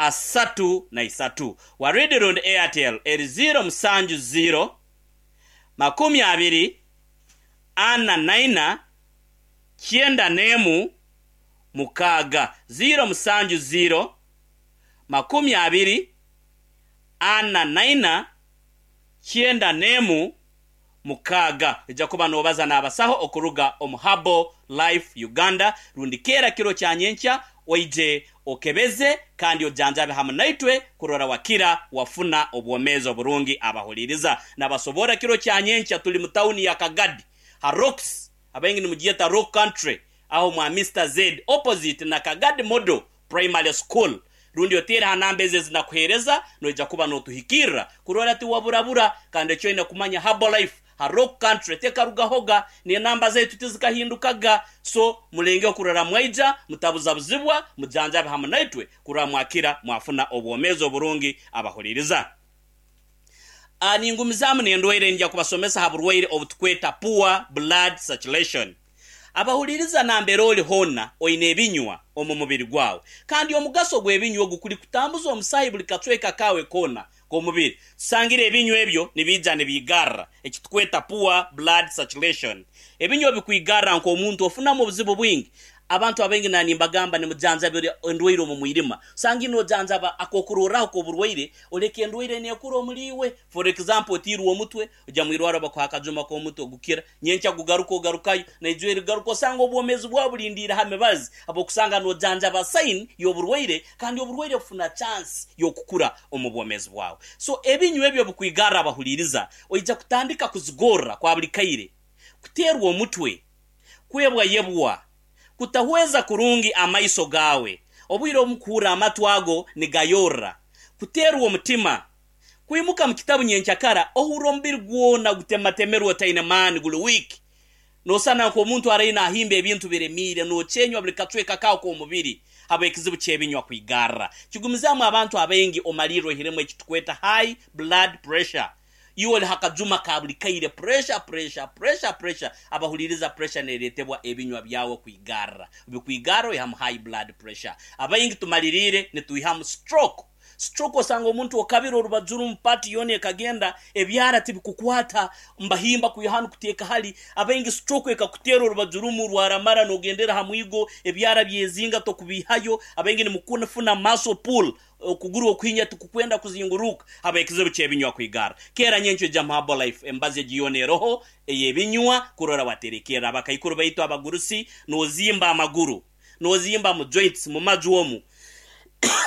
92 33. Waridi rundi Airtel eri 0 7 0 20 44 91 6. 0 7 0 20 44 91 6. Ija kuba nobaza n'abasaho okuruga omu Herbal Life Uganda rundi keera kiro kya nyenkya oije okebeze kandi ojanjabe hamu naitwe kurora wakira wafuna obwomezi oburungi abahuririza. Nabasobora kiro kya nyenkya tuli mu tawuni ya Kagadi ha Rocks, abaingi nimugiyeta Rock Country. aho mwa Mister Z opposite na Kagadi Model Primary School rundi oteere ha namba ezi ezinakuheereza noija kuba notuhikirra kurora tiwaburabura kandi eki oine kumanya Herbalife ha Rock Country tekarugahoga n'enamba zaitu tizikahindukaga so mulengeho kurora mwaija mutabuzabuzibwa mujanjabe hamu naitwe kurora mwakira mwafuna obwomeezi oburungi abahuliriza. Ningumizaamu n'endwaire ningya kubasomesa ha burwaire obutukweta poor blood circulation. Abahuliriza nambere ori hoona oine ebinywa omu mubiri gwawe kandi omugaso gw'ebinywa ogu kuri kutambuza omusaahi buri kacweka kaawe koona k'omubiri. Tusangire ebinywa ebyo nibiija nibiigarra ekitukweta poor blood circulation. Ebinywa bikwigarra nk'omuntu ofunamu obuzibu bwingi. Abantu abaingi na nimbagamba nimujanjabira endwaire omu mwirima. Osanga nojanjaba akokurorraho k'oburwaire oleka endwaire nekura omuri iwe. For example otiirwe omutwe ojya mwirwarro bakuha akajuma k'omutwe gukira, nyenkya gugaruka ogarukayo naijweri rigaruka osanga obwomeezi bwawe bulindiire ha mibazi habw'okusanga nojanjaba sign y'oburwaire kandi oburwaire bufuna chance y'okukura omu bwomeezi bwawe. So ebinywa ebyo bikwigarra abahuliiriza oija kutandika kuzigorra kwa buri kaire, kuteerwa omutwe, kwebwayebwa, kutahweza kurungi amaiso gaawe, obwire obumu kuhurra amatu ago nigayorra, kuteerwa omutima, kwimuka mu kitabu nyenkyakara ohurra omubiri gwona gutematemerwe otaine maani guri weak, nosana nk'omuntu araire nahimba ebintu biremiire, nokyenywa buri kacweka kaawe k'omubiri habw'ekizibu ky'ebinywa kwigarra. Kigumizaamu abantu abaingi omalirra oihiremu ekitukweta high blood pressure. Iwe ori ha kajuma ka buri kaire pressure pressure pressure pressure abahuririza pressure neretebwa ebinywa byawe kwigarra bikwigarra oihamu high blood pressure abaingi tumaririire nitwihamu stroke stroke osanga omuntu okabire orubaju rumu part yoona ekagenda ebyara tibikukwata mbahimba kwiha hanu kuteeka hali abaingi stroke ekakuteera orubaju rumu rwaramara nogendera ha mwigo ebyara byezinga tokubihayo abaingi nimukufuna muscle pull Okuguru okuhinya tikukwenda kuzinguruka habw'ekizibu ky'ebinywa kwigara. Keera nyenkyo ija mu Herbalife emibazi egi yoona eroho ey'ebinywa kurora waterekerra abakaikuru baitu abagurusi n'ozimba amaguru, n'ozimba mu joints, mu maju omu,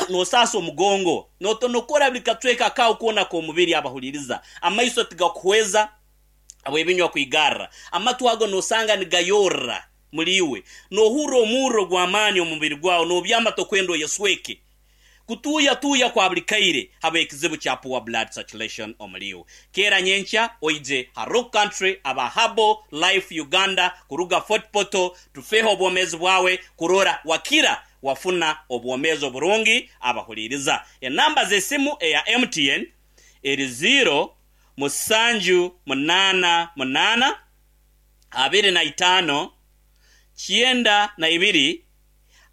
n'osaasa omugongo, n'otonokora buli kacweka kaawe koona k'omubiri abahuliriza. Amaiso tigakuhweza habw'ebinywa kwigarra. Amatu ago n'osanga nigayorra muli iwe. N'ohurra omurro gw'amaani omu mubiri gwawe, n'obyama tokwenda oyesweke. Kutuuyatuuya kwa buri kaire habw'ekizibu kya poor blood circulation omuri iwe. Keera nyenkya oije ha Rock Country aba Herbal Life Uganda kuruga Fort Portal tufeho obwomeezi bwawe kurora wakira wafuna obwomeezi oburungi abahuriiriza. Enamba z'esimu eya MTN eri ziiro musanju munaana munaana 25 92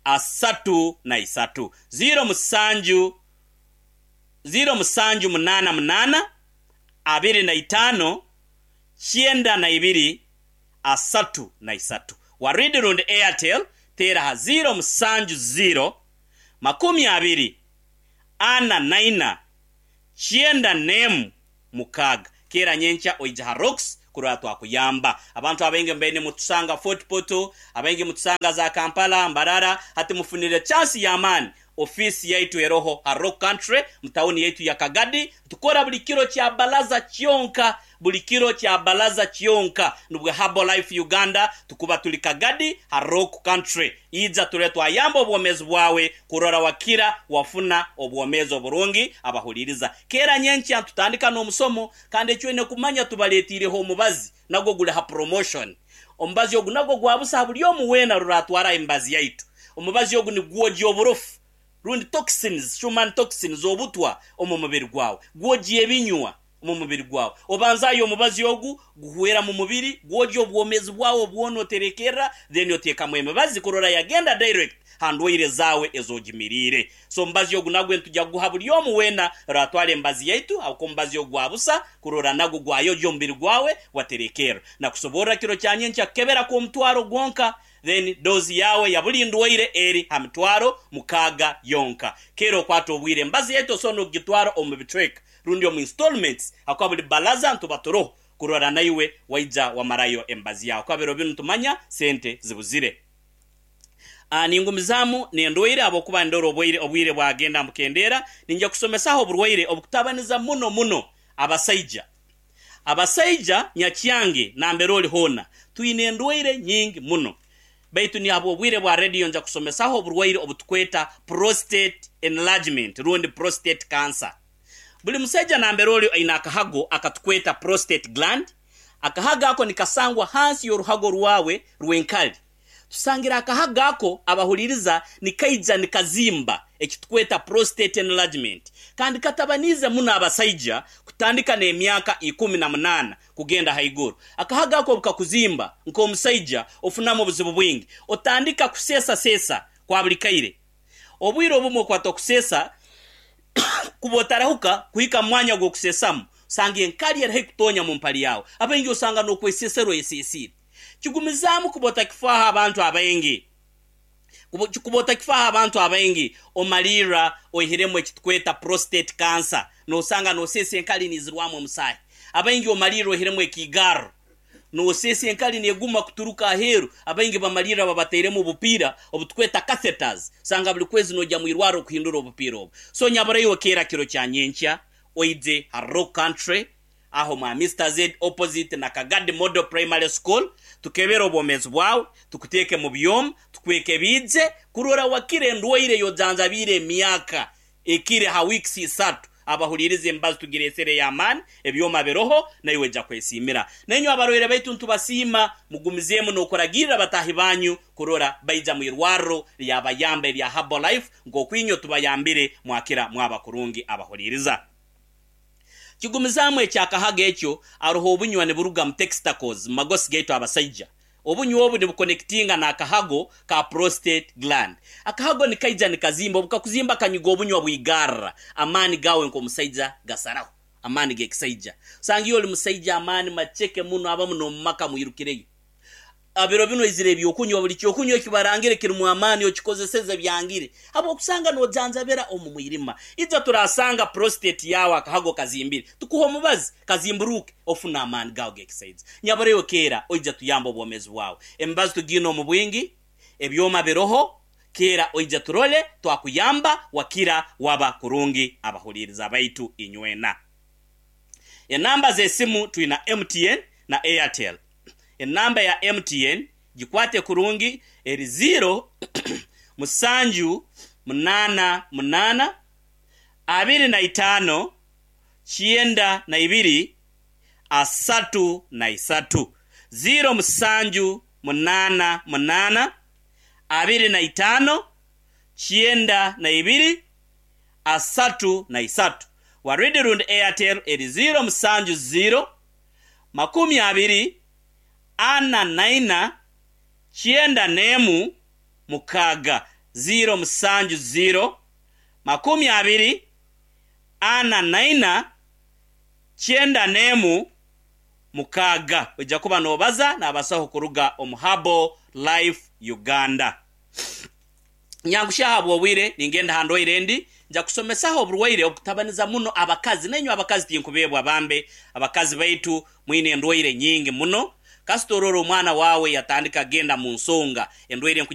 33. 07 0788 25 92 33. Waridi rundi Airtel teera aha 070 20 44 91 6. Keera nyenkya oije aha Rocks kurora twakuyamba. Abantu abaingi mubaire nimutusanga Fort Portal, abaingi mutusanga za Kampala, Mbarara, hati mufunire chance y'amaani. Ofiisi yaitu eroho ha Rock Country mu tawuni yaitu ya Kagadi. Tukora buri kiro kya Balaza kyonka, buri kiro kya Balaza kyonka. Nubwo Herbal Life Uganda tukuba turi Kagadi ha Rock Country. Ija turore twayamba obwomeezi bwawe kurora wakira wafuna obwomeezi oburungi abahuliriza. Keera nyenkya nitutandika n'omusomo kandi eki oine kumanya tubareeteireho omubazi nagwo guri ha promotion. Omubazi ogu nagwo gwa busa ha buri omu weena ruraatwara emibazi yaitu. Omubazi ogu nigwogya oburofu rundi toxins, human toxins, obutwa omu mubiri gwawe. Gwogya ebinywa omu mubiri gwawe. Obanzaayo omubazi ogu guhwera mu mubiri, gwogya obwomeezi bwawe bwona oterekerra then oteekamu emibazi kurora yagenda direct ha ndwaire zaawe ez'ogimiriire. So omubazi ogu nagwo nitugya kuguha buri omu weena oraatwara emibazi yaitu ahabw'okuba omubazi ogu gwa busa kurora nagwo gwayogya omubiri gwawe gwaterekerra. Nakusoborra kiro kya nyenkya kukebera kw'omutwaro gwonka then dose yaawe ya buri ndwaire eri ha mitwaro mukaaga yonka. Keera okwate obwire emibazi yaitu osobola n'okugitwara omu bicweka rundi omu installments ahakuba buri balaza nituba turoho kurora naiwe waija wamarayo emibazi yaawe ahakuba biro binu nitumanya sente zibuzire. Ningumizaamu n'endwaire ahabw'okuba nindora obwaire obwire bwagenda mbukendeera. Niinyija kusomesaho oburwaire obukutabaniza muno muno abasaija. Abasaija nyakyange nambere ori hoona, twine endwaire nyingi muno. Baitu ni habw'obwire bwa rediyo nja kusomesaho oburwaire obutukweta prostate enlargement rundi prostate cancer. Buli musaija nambere oli aine akahago akatukweta prostate gland. Akahago ako nikasangwa hansi y'oruhago rwawe rw'enkali. Tusangire akahago ako abahuliriza nikaija nikazimba ekitukweta prostate enlargement kandi katabaniize muno abasaija kutandika n'emyaka 18 kugenda haiguru. Akahago ako obu kakuzimba nk'omusaija ofunamu obuzibu bwingi. Otandika kuseesaseesa kwa buli kaire. Obwire obumwe okwata okuseesa kuba otarahuka kuhika mu mwanya gw'okuseesamu osanga enkali eri haihi kutonya mu mpali yawe. Abaingi osanga n'okweseesera oyeseesiire. Kigumizaamu kuba otakifaaho abantu abaingi. Kuba otakifaaho abantu abaingi omalirra oihiremu ekitukweta prostate cancer. Noosanga nooseesa enkali niizirwamu omusaahi. Abaingi omalirra oihiremu ekiigarro. Nooseesa enkali neeguma kuturuka aheeru. Abaingi bamalirra babatairemu obupiira obutukweta catheters. Osanga buli kwezi noija mu irwarro kuhindura obupiira obu. So nyaburaiwe keera kiro kya nyenkya oije ha Rock Country aho mwa Mister Z opposite na Kagadi Model Primary School tukebere obwomeezi bwawe, tukuteeke mu byoma, tukwekebiije kurora wakira endwaire ey'ojanjabiire emyaka ekire ha weeks isatu. Abahuliiriza emibazi tugireesere ey'amaani, ebyoma biroho, naiwe oija kwesiimira. Nainywe abarwaire baitu nitubasiima, mugumizeemu n'okuragirra bataahi banyu kurora baija mu irwarro lyabayamba erya Herbalife nk'oku inywe tubayambire mwakira mwaba kurungi abahuliiriza. Kigumizaamu eky'akahago ekyo, aroho obunywa niburuga mu textacles mu magosi gaitu abasaija. Obunywa obu nibukonekitinga n'akahago ka prostate gland. Akahago nikaija nikazimba, obu kakuzimba kanyuga obunywa bwigarra, amaani gaawe nk'omusaija gasaraho, amaani g'ekisaija. Osanga iwe oli musaija amaani maceke muno abamu n'omu maka mwirukireyo. Biro binu oizire ebyokunywa, buli kyokunywa eki barangire kirimu amaani okikozeseze byangire habw'okusanga nojanjabira omu mwirima. Ija turasanga prostate yaawe akahago kazimbire, tukuhe omubazi kazimburuuke ofune amaani gaawe g'ekisaija. Nyabura iwe keera oija tuyambe obwomeezi bwawe. Emibazi tugiine omu bwingi, ebyoma biroho, keera oija turole twakuyamba wakira waba kurungi abahuliiriza baitu inywena. Enamba z'esimu twina MTN na Airtel. Enamba ya MTN gikwate kurungi eri ziiro musanju munaana munaana 25 92 33. Ziiro musanju munaana munaana 25 92 33. Waridi rundi Airtel eri ziiro musanju ziiro 24 91 6. 0 7 0 24 91 6. Oija kuba noobaza n'abasaho kuruga omu Herbal Life Uganda. Nyangushya ahabw'obwire, ningenda ha ndwaire endi. Nja kusomesaho oburwaire obukutabaniza muno abakazi. Nainywe abakazi tinkubeebwa bambe. Abakazi baitu mwine endwaire nyingi muno. Kasita orora omwana waawe yatandika kugenda mu nsonga, endwaire nku.